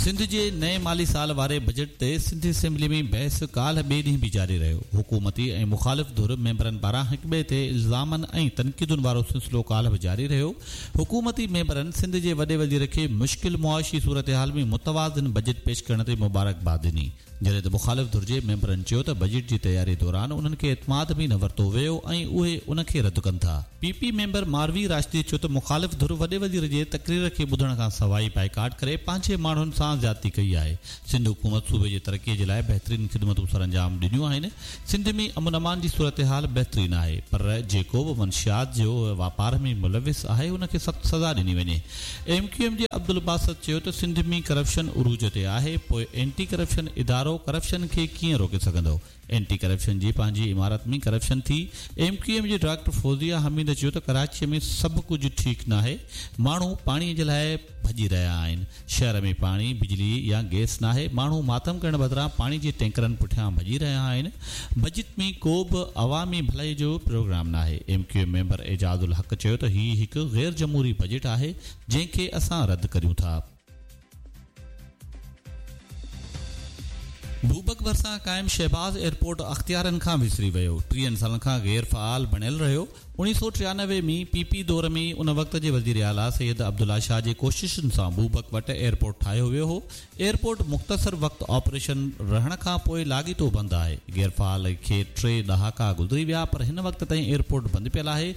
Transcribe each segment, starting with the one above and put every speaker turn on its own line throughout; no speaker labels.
سنڌ جي نئين مالي سال واري بجيٽ تي سنڌ اسيمبلي ۾ بحث ڪالهه ٻئي ڏينهن به جاري رهيو. حڪومتي ۽ مخالف ڌر ميمبرن پاران هڪٻئي تي الزامن ۽ تنقيدن وارو سلسلو ڪالهه به جاري رهيو. حڪومتي ميمبرن سنڌ جي وڏي وزير کي مشڪل معاشي صورتحال ۾ متوازن بجيٽ پيش ڪرڻ تي مبارڪباد ڏني. جڏهن ته مخالف ڌر جي ميمبرن چيو ته بجيٽ جي تياري دوران انهن کي اعتماد ۾ نه ورتو ويو ۽ اهي ان کي رد ڪن ٿا. P P member Marvi Rashdi چيو ته مخالف ڌر وڏي وزير جي تقرير کي ٻڌڻ کان سواء ئي بائيڪاٽ ڪري پنهنجي ماڻهن سان زيادتي ڪئي آهي، سنڌ حڪومت صوبي جي ترقي جي لاء بهترين خدمتون سرانجام ڏنيون آهن، سنڌ ۾ امن امان جي صورتحال بهترين آهي پر جيڪو به منشيات جو واپار ۾ ملوث آهي ان کي سخت سزا ڏني وڃي. ايم ڪيو ايم جي عبدالباسط چيو ته سنڌ ۾ ڪرپشن عروج تي آهي پوء اينٽي ڪرپشن ادارو ڪرپشن کي ڪيئن روڪي سگهندو؟ اينٽي ڪرپشن جي پنهنجي عمارت ۾ ڪرپشن ٿي. ايم ڪيو ايم جي ڊاڪٽر فوزيه حميد چيو ته ڪراچي ۾ سڀ ڪجهه ٺيڪ ناهي، ماڻهو پاڻي جي لاء ڀڄي رهيا آهن، شهر ۾ پاڻي، بجلي يا گئس ناهي، ماڻهو ماتم ڪرڻ بدران پاڻي جي ٽينڪرن پٺيان ڀڄي رهيا آهن، بجيٽ ۾ ڪو به عوامي ڀلائي جو پروگرام ناهي. M Q M member Ijaz ul Haq چيو ته هي هڪ غير جمهوري بجيٽ آهي جنهن کي اسان رد ڪريون ٿا. بوبڪ ڀرسان قائم شهباز ايئرپورٽ اختيارين کان وسري ويو، ٽيهن سالن کان غير فعال بڻيل رهيو، اوڻيهه سؤ ٽيانوي ۾ پي پي دور ۾ ان وقت جي وزيراعليٰ سيد عبدالله شاهه جي ڪوششن سان بوبڪ وٽ ايئرپورٽ ٺاهيو ويو هو. ايئرپورٽ مختصر وقت آپريشن رهڻ کان پوء لاڳيتو بند آهي. غيرفعال کي ٽي ڏهاڪا گذري ويا پر هن وقت تائين ايئرپورٽ بند پيل آهي.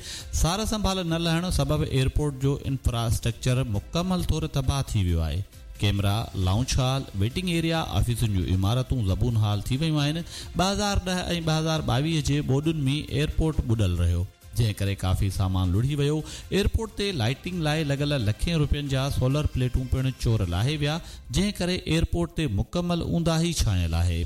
سار سنڀال نه لهڻ سبب ايئرپورٽ جو انفراسٽرڪچر مڪمل طور تباهه ٿي ويو آهي. Camera, lounge hall, waiting area, آفيسن جون عمارتون زبون حال ٿي ويون آهن. 2010 ۽ 2022 جي ٻوڏن ۾ ايئرپورٽ ٻڏل رهيو، جنهن ڪري ڪافي سامان لڙهي ويو. ايئرپورٽ تي لائيٽنگ لاء لڳل لکين روپين جا سولر پليٽون پڻ چور لاهي ويا، جنهن ڪري ايئرپورٽ تي مڪمل اونداهي ڇانيل آهي.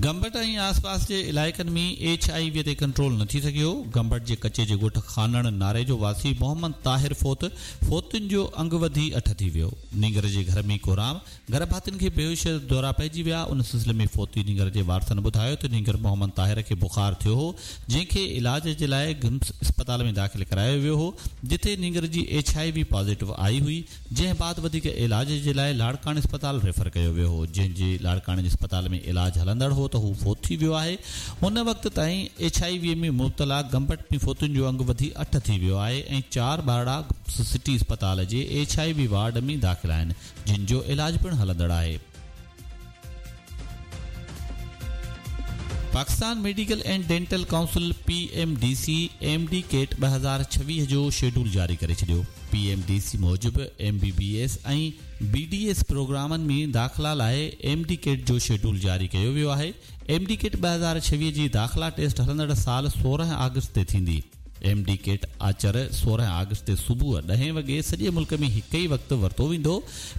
گمبٽ ۽ آسپاس جي علائقن ۾ ايڇ I V تي ڪنٽرول نه ٿي سگهيو، گمبٽ جي ڪچي جي ڳوٺ خانڻ ناريجو واسي محمد طاهر فوت، فوتين جو انگ وڌي اٺ ٿي ويو، نينگر جي گهر ۾ ڪهرام، گهر ڀاتين کي بيهوشي جا دورا پئجي ويا، ان سلسلي ۾ فوتي نينگر جي وارثن ٻڌايو ته نينگر محمد طاهر کي بخار ٿيو هو، جنهن کي علاج جي لاء گمس اسپتال ۾ داخل ڪرايو ويو هو، جتي نينگر جي ايڇ I V positive آئي هئي، جنهن بعد وڌيڪ علاج جي لاء لاڙڪاڻي اسپتال ريفر ڪيو ويو هو، جنهن جي لاڙڪاڻي جي اسپتال ۾ علاج هلندڙ هو ته هو فوت ٿي ويو آهي. هن وقت تائين ايڇ I V ۾ مبتلا گمبٽ ۾ فوتين جو انگ وڌي اٺ ٿي ويو آهي ۽ چار ٻارڙا سٽي اسپتال جي ايڇ I V ward ۾ داخل آهن، جن جو علاج پڻ هلندڙ آهي. Pakistan medical and dental council, P M D C, M D CAT 2026 جو شيڊول جاري ڪري ڇڏيو. پي ايم ڊي سي موجب M B B S ۽ B D S پروگرامن ۾ داخلا لاء ايم ڊي ڪيٽ جو شيڊول جاري ڪيو ويو آهي. ايم ڊي ڪيٽ 2026 جي داخلا ٽيسٽ هلندڙ سال 16 آگسٽ تي ٿيندي. ايم ڊي ڪيٽ آچر 16 آگسٽ تي صبح ڏهين وڳي سڄي ملڪ ۾ هڪ ئي وقت ورتو ويندو.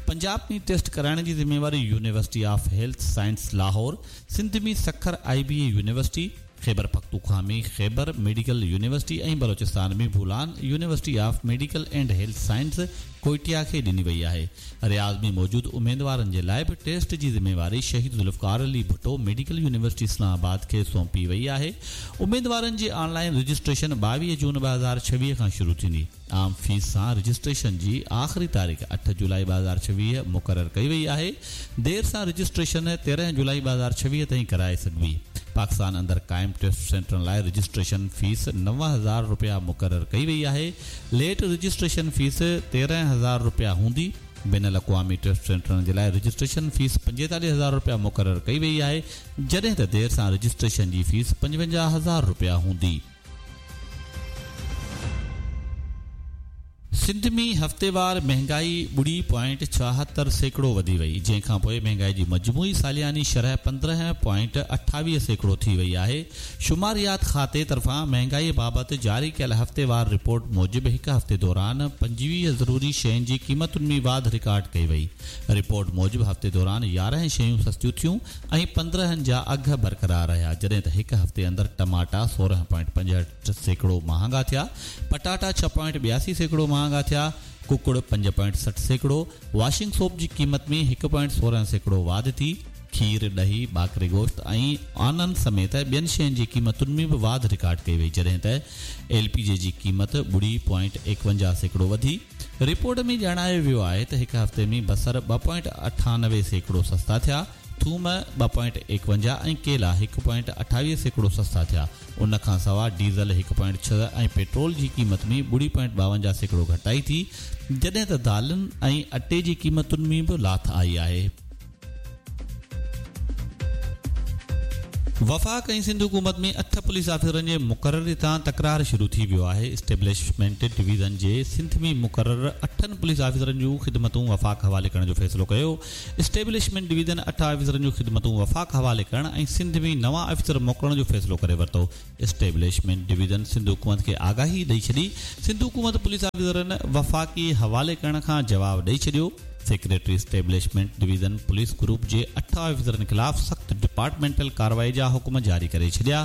پنجاب ۾ ٽيسٽ ڪرائڻ جي ذميواري university of health science Lahore, Sindh ۾ Sukkur I B A university, Khyber Pakhtunkhwa ۾ Khyber medical university ۽ Balochistan ۾ Bolan university of medical and health science Quetta کي ڏني وئي آهي. رياض ۾ موجود اميدوارن جي لاء به ٽيسٽ جي ذميواري شهيد ذوالفقار علي ڀٽو ميڊيڪل يونيورسٽي اسلام آباد کي سونپي وئي آهي. اميدوارن جي آن لائين رجسٽريشن 22 جون 2026 کان شروع ٿيندي. عام فيس سان رجسٽريشن جي آخري تاريخ اٺ جولائي 2026 مقرر ڪئي وئي آهي. دير سان رجسٽريشن 13 جولائي 2026 تائين ڪرائي سگهبي. پاڪستان اندر قائم ٽيسٽ سينٽرن لاء رجسٽريشن فيس 9000 رپيا مقرر ڪئي وئي آهي. ليٽ رجسٽريشن فيس 13000 رپيا هوندي. بين الاقوامي ٽيسٽ سينٽرن جي لاء رجسٽريشن فيس 45000 رپيا مقرر ڪئي وئي آهي، جڏهن ته دير سان رجسٽريشن جي فيس 55000 رپيا هوندي. سنڌ ۾ هفتيوار مهنگائي ٻڙي پوائنٽ 76% وڌي وئي، جنهن کانپوء مهنگائي جي مجموعي سالياني شرح 15.28% ٿي وئي آهي. شماريات کاتي طرفان مهنگائي بابت جاري ڪيل هفتيوار رپورٽ موجب هڪ هفتي دوران 25 ضروري شين جي قيمتن ۾ واڌ رڪارڊ ڪئي وئي. رپورٽ موجب هفتي دوران 11 شيون سستيون ٿيون ۽ 15 جا اگهه برقرار رهيا، جڏهن ته هڪ هفتي اندر ٽماٽا 16.65% مهانگا ٿيا، پٽاٽا 6.82% مهانگا ٿيا، ڪڪڙ 5.60%، واشنگ سوپ جي قيمت ۾ 1.16% واڌ ٿي، کير، ڏهي، ٻاڪري گوشت ۽ آنن سميت ٻين شين جي قيمتن ۾ به واڌ رڪارڊ ڪئي وئي، جڏهن ته ايل پي جي جي قيمت ٻڙي پوائنٽ 51% وڌي. رپورٽ ۾ ڄاڻايو ويو آهي ته هڪ هفتي ۾ بصر 2.98% سستا ٿيا، ٿوم 2.51 ۽ ڪيلا 1.28% سستا ٿيا. ان کان سواء ڊيزل 1.6 ۽ پيٽرول جي قيمت ۾ 0.52% گهٽتائي ٿي، جڏهن ته دالن ۽ اٽي جي قيمتن ۾ به لاٿ آئي آهي. وفاق ۽ سنڌ حڪومت ۾ اٺ پوليس آفيسرن جي مقرري تان تڪرار شروع ٿي ويو آهي، اسٽيبلشمينٽ ڊويزن جي سنڌ ۾ مقرر اٺن پوليس آفيسرن جون خدمتون وفاق حوالي ڪرڻ جو فيصلو ڪيو، اسٽيبلشمينٽ ڊويزن اٺ آفيسرن جون خدمتون وفاق حوالي ڪرڻ ۽ سنڌ ۾ نوان آفيسر موڪلڻ جو فيصلو ڪري ورتو، اسٽيبلشمينٽ ڊويزن سنڌ حڪومت کي آگاهي ڏئي ڇڏي، سنڌ حڪومت پوليس آفيسرن وفاقي حوالي ڪرڻ کان جواب ڏئي ڇڏيو. Secretary establishment division police group جي اٺ آفيسرن خلاف سخت ڊپارٽمينٽل ڪارروائي جا حڪم جاري ڪري ڇڏيا.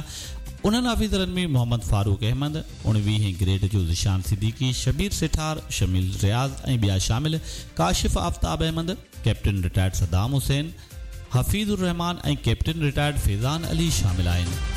انهن آفيسرن ۾ محمد فاروق احمد، اڻويهين گريڊ جو ذيشان صديقي، شبير سيٺار، شميل رياض ۽ ٻيا شامل، ڪاشف آفتاب احمد، ڪئپٽن رٽائرڊ صدام حسين، حفيظ الرحمان ۽ ڪئپٽن رٽائرڊ فيضان علي شامل آهن.